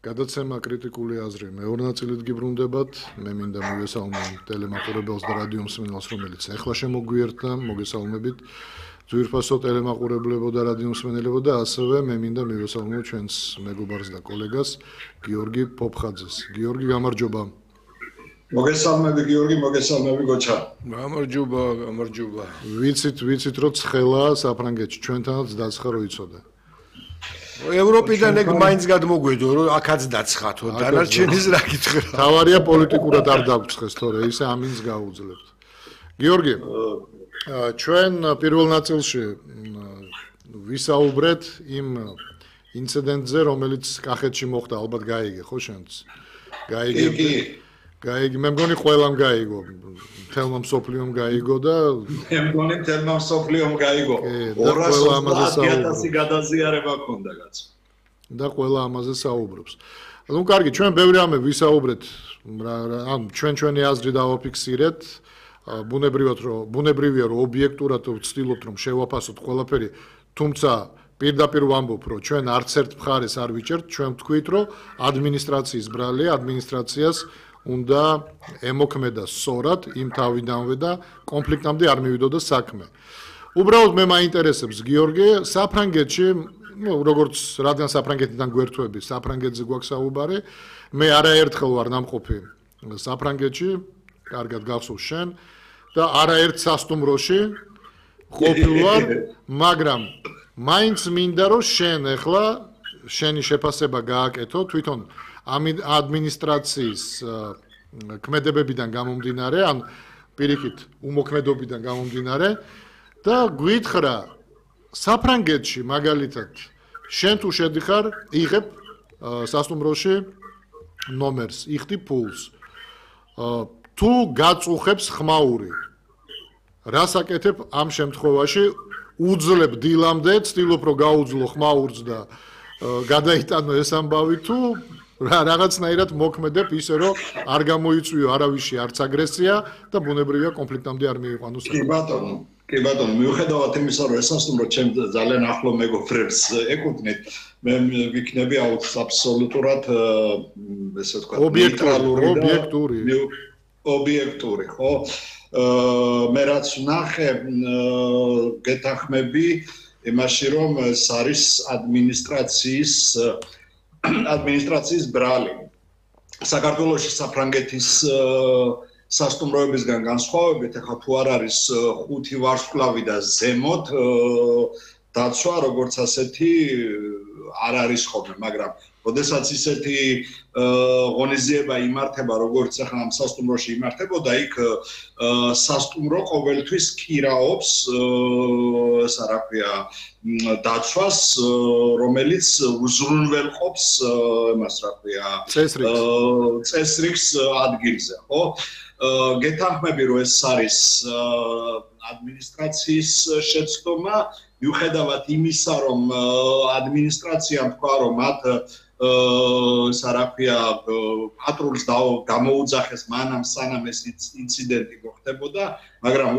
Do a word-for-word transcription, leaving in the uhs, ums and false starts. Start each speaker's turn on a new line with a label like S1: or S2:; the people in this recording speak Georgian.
S1: გადაცემა კრიტიკული აზრი მეორე ნაწილით გიბრუნდებათ. მე მინდა მივესალმო ტელემაყურებელს და რადიო მსმენელს, რომელიც ეხლა შემოგვიერთდა, მოგესალმებით. ძვირფასო ტელემაყურებლებო და რადიო მსმენელებო და ასევე მე მინდა მივესალმო ჩვენს მეგობარს და კოლეგას გიორგი ფოფხაძეს. გიორგი, გამარჯობა.
S2: მოგესალმები გიორგი, მოგესალმები გოჩა.
S3: გამარჯობა, გამარჯობა.
S1: ვიცით, ვიცით რომ ცხელა საფრანგეთში ჩვენთანაც დაცხა რო იცოდა.
S3: ევროპიდან ეგ მაინც გადმოგვედო რომ აქაც დაცხათო, დანარჩენის რა გითხრა.
S1: თავარია პოლიტიკურად არ დაგვცხეს თორე ისე ამინს გაუძლებთ. გიორგი, ჩვენ პირველ ნაწილში ვისაუბრეთ იმ ინციდენტზე, რომელიც კახეთში მოხდა, ალბათ გაიგე, ხო შენც?
S2: გაიგე.
S1: გაიგე, მე მგონი ყველამ გაიგო. თელმა მსოფლიომ გაიგო და
S2: მე მგონი თელმა მსოფლიომ გაიგო. ორას ოცდაათი ათასი გადაზიარება ქონდა კაცო.
S1: და ყველა ამაზე საუბრობს. ნუ კარგი, ჩვენ ბევრი ამე ვისაუბრეთ, ანუ ჩვენ ჩვენი აზრი დავაფიქსირეთ. ბუნებრივად რომ ბუნებრივია რომ ობიექტურად ვცდილობთ რომ შევაფასოთ ყველაფერი, თუმცა პირდაპირ ვამბობ რომ ჩვენ არც ერთ მხარეს არ ვიჭერთ, ჩვენ ვთქვით რომ ადმინისტრაციის ბრალია, ადმინისტრაციას უნდა ემოქმედა სწორად იმ თავიდანვე და კონფლიქტამდე არ მივიდოდა საქმე. უბრალოდ მე მაინტერესებს გიორგი, საფრანგეთში, ну, როგორც რადგან საფრანგეთიდან გვერდთვები, საფრანგეთზე გვაქვს საუბარი, მე არაერთხელ ვარ ნამყოფი საფრანგეთში, კარგად გახსოვს შენ და არაერთ სასტუმროში ყოფილ ვარ, მაგრამ მაინც მინდა რომ შენ ახლა შენი შეფასება გააკეთო თვითონ ადმინისტრაციის ქმედებებიდან გამომდინარე, ან პირიქით უმოქმედობიდან გამომდინარე და გვითხრა საფრანგეთში მაგალითად შენ თუ შედიხარ, იღებ სასტუმროში ნომერს, იხდი ფულს. თუ გაწუხებს ხმაური, რას აკეთებ ამ შემთხვევაში? უძლებ დილამდე, ცდილობ რომ გაუძლო ხმაურს და გადაიტანო ეს ამბავი, თუ რაღაცნაირად მოქმედებ ისე რომ არ გამოიწვიო არავისი არც აგრესია და ბუნებრივია კონფლიქტამდე არ მიიყვანო საქმე.
S2: კი ბატონო, კი ბატონო, მიუხედავად იმისა რომ ეს სასტუმრო ჩემ ძალიან ახლო მეგობრებს ეკუთვნით, მე ვიქნები აბსოლუტურად ესე ვთქვათ
S1: ობიექტური, ობიექტური.
S2: ობიექტური, ხო? მე რაც ვნახე, გეთანხმები იმაში რომ ეს არის ადმინისტრაციის ადმინისტრაციის ბრალი. საქართველოში საფრანგეთის სასტუმროებისგან განსხვავებით, ახლა თუ არ არის ხუთი ვარსკვლავი და ზემოთ დაცვა, როგორც ასეთი არ არის ხოლმე, მაგრამ როდესაც ისეთი ღონისძიება იმართება, როგორც ახლა ამ სასტუმროში იმართებოდა, იქ სასტუმრო ყოველთვის კირაობს, ესა რა ქვია, დაცვას, რომელიც უზრუნველყოფს იმას რა ქვია, წესრიგს ადგილზე, ხო? გეთანხმები რომ ეს არის ადმინისტრაციის შეცდომა, მიუხედავად იმისა რომ ადმინისტრაციამ თქვა რომ მათ ესა რა ქვია პატრულს გამოუძახეს მანამ სანამ ეს ინციდენტი მოხდებოდა, მაგრამ